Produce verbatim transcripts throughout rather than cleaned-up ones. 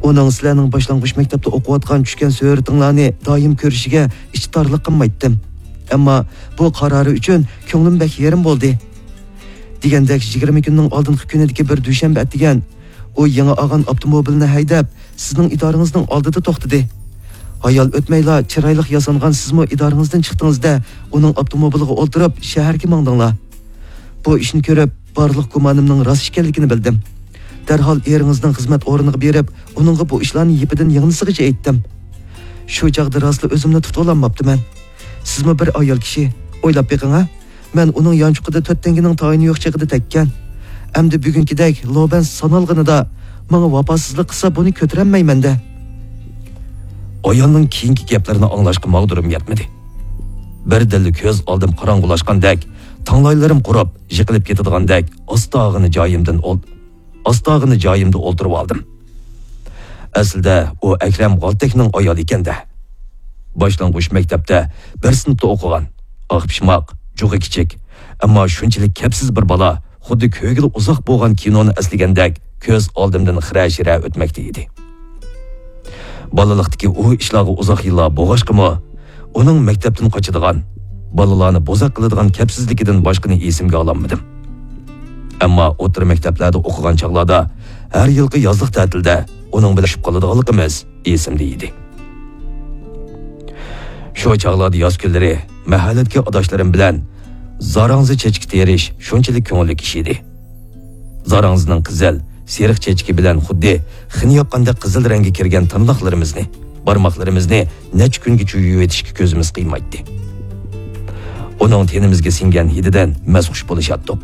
ئۇنىڭ سىلەرنىڭ باشلانغۇچ مەكتەپتە ئوقۇۋاتقان چۈشكەن سۈرىتىڭلارنى دائىم كۆرۈشىگە ئىچ تارلىق قىلمايتتىم. ئەمما بۇ قارارى ئۈچۈن كۆڭلۈم بەك يېرىم بولدى. دېگەندەك، يىگىرمە كۈننىڭ ئالدىنقى كۈنىدىكى بىر دۈشەنبە ئەتىگەن ئۇ يېڭى ئالغان ئاپتوموبىلىنى ھەيدەپ، سىزنىڭ ئىدارىڭىزنىڭ ئالدىدا توختىدى. ھايال ئۆتمەيلا چىرايلىق ياسانغان سىزمۇ ئىدارىڭىزدىن چىقتىڭىز-دە، ئۇنىڭ ئاپتوموبىلىغا ئولتۇرۇپ شەھەرگە ماڭدىڭلار. بۇ ئىشنى كۆرۈپ، بارلىق گۇمانىمنىڭ راست ئىكەنلىكىنى بىلدىم. دەرھال ئېرىڭىزنىڭ خىزمەت ئورنىغا بېرىپ، ئۇنىڭغا بۇ ئىشلارنى يىپىدىن يىڭنىسىغىچە ئېيتتىم. شۇ چاغدا راستلا ئۆزۈمنى تۇتۇۋالالماپتىمەن. سىزمۇ بىر ئايال كىشى. ئويلاپ بېقىڭ-ھە. مەن ئۇنىڭ يانچۇقىدا تۆت تەڭگىنىڭ تايىنى يوق چېغىدا تەگكەن. ئەمدى بۈگۈنكىدەك لوبەن سانالغىنىدا ماڭا ۋاپاسىزلىق قىلسا، بۇنى كۆتۈرەلمەيمەن-دە. ئايالنىڭ كېيىنكى گەپلىرىنى ئاڭلاشقا ماغدۇرۇم يەتمىدى. بىردىنلا كۆز ئالدىم قاراڭغۇلاشقاندەك، تاڭلايلىرىم قۇرۇپ، يىقىلىپ كېتىدىغاندەك، ئاستاغىنا جايىمدىن ئول-، ئاستاغىنا جايىمدا ئولتۇرۇۋالدىم. ئەسلىدە ئۇ ئەكرەم غالتەكنىڭ ئايالى ئىكەن-دە. باشلانغۇچ مەكتەپتە بىر سىنىپتا ئوقۇغان، ئاق پىشماق، جۇغى كىچىك، ئەمما شۇنچىلىك كەپسىز بىر بالا، خۇددى كۆرگىلى ئۇزاق بولغان كىنونى ئەسلىگەندەك كۆز ئالدىمدىن خىرە-شىرە ئۆتمەكتە ئىدى. بالىلىقتىكى ئۇ ئىشلارغا ئۇزاق يىللار بولغاچقىمۇ، ئۇنىڭ مەكتەپتىن قاچىدىغان، بالىلارنى بوزەك قىلىدىغان كەپسىزلىكىدىن باشقىنى ئېسىمگە ئالالمىدىم. ئەمما ئوتتۇرا مەكتەپلەردە ئوقۇغان چاغلاردا ھەر يىلقى يازلىق تەتىلدە ئۇنىڭ بىلەن چۈشۈپ قالىدىغانلىقىمىز ئېسىمدە ئىدى. شۇ چاغلاردا ياز كۈنلىرى مەھەللىدىكى ئاداشلىرىم بىلەن زاراڭزا چېچىكى تېرىش شۇنچىلىك كۆڭۈللۈك ئىش ئىدى. زاراڭزىنىڭ قىزىل، سېرىق چېچىكى بىلەن خۇددى خېنە ياققاندەك قىزىل رەڭگە كىرگەن تىرناقلىرىمىزنى، بارماقلىرىمىزنى نەچچە كۈنگىچە يۇيۇۋېتىشكە كۆزىمىز قىيمايتتى. ئۇنىڭ تېنىمىزگە سىڭگەن ھىدىدىن مەستخۇش بولۇشاتتۇق.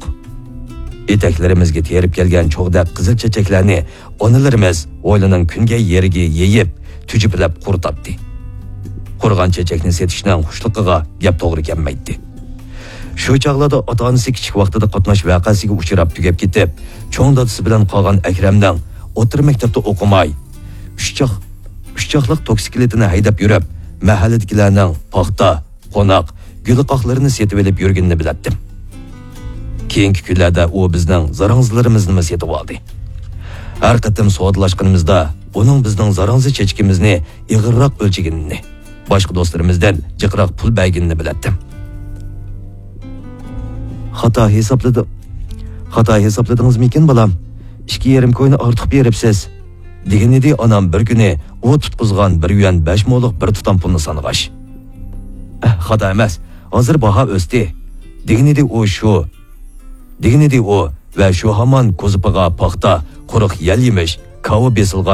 ئېتەكلىرىمىزگە تېرىپ كەلگەن چوغدەك قىزىل چېچەكلەرنى ئانىلىرىمىز ھويلىنىڭ كۈنگەي يېرىگە يېيىپ، تۈجۈپىلەپ قۇرۇتاتتى. قۇرۇغان چېچەكنى سېتىشنىڭ خۇشلۇقىغا گەپ توغرا كەلمەيتتى. شۇ چاغلاردا ئاتا-ئانىسى كىچىك ۋاقتىدا قاتناش ۋەقەسىگە ئۇچراپ تۈگەپ كېتىپ، چوڭ دادىسى بىلەن قالغان ئەكرەمنىڭ ئوتتۇرا مەكتەپتە ئوقۇماي، ئۈچ چاق-، ئۈچ چاقلىق توكسىكلىتىنى ھەيدەپ يۈرۈپ، مەھەللىدىكىلەرنىڭ پاختا، قوناق، گۈلقاقلىرىنى سېتىۋېلىپ يۈرگىنىنى بىلەتتىم. كېيىنكى كۈنلەردە ئۇ بىزنىڭ زاراڭزىلىرىمىزنىمۇ سېتىۋالدى. ھەر قېتىم سودىلاشقىنىمىزدا ئۇنىڭ بىزنىڭ زاراڭزا چېچىكىمىزنى ئېغىرراق ئۆلچىگىنىنى، باشقا دوستلىرىمىزدىن جىقراق پۇل بەرگىنىنى بىلەتتىم. خاتا ھېسابلىدىڭ، خاتا ھېسابلىدىڭىزمىكىن، بالام؟ ئىككى يېرىم كوينى ئارتۇق بېرىپسىز، دېگەنىدى ئانام بىر كۈنى ئۇ تۇتقۇزغان بىر يۈەن بەش مولۇق بىر تۇتام پۇلنى سانىغاچ. ئەھ، خاتا ئەمەس، ھازىر باھا ئۆستى، دېگىنىدى ئۇ شۇ، دېگىنىدى ئۇ ۋە شۇ ھامان كوزۇپىغا پاختا، قۇرۇق يەل يېمىش، كاۋا بېسىلغان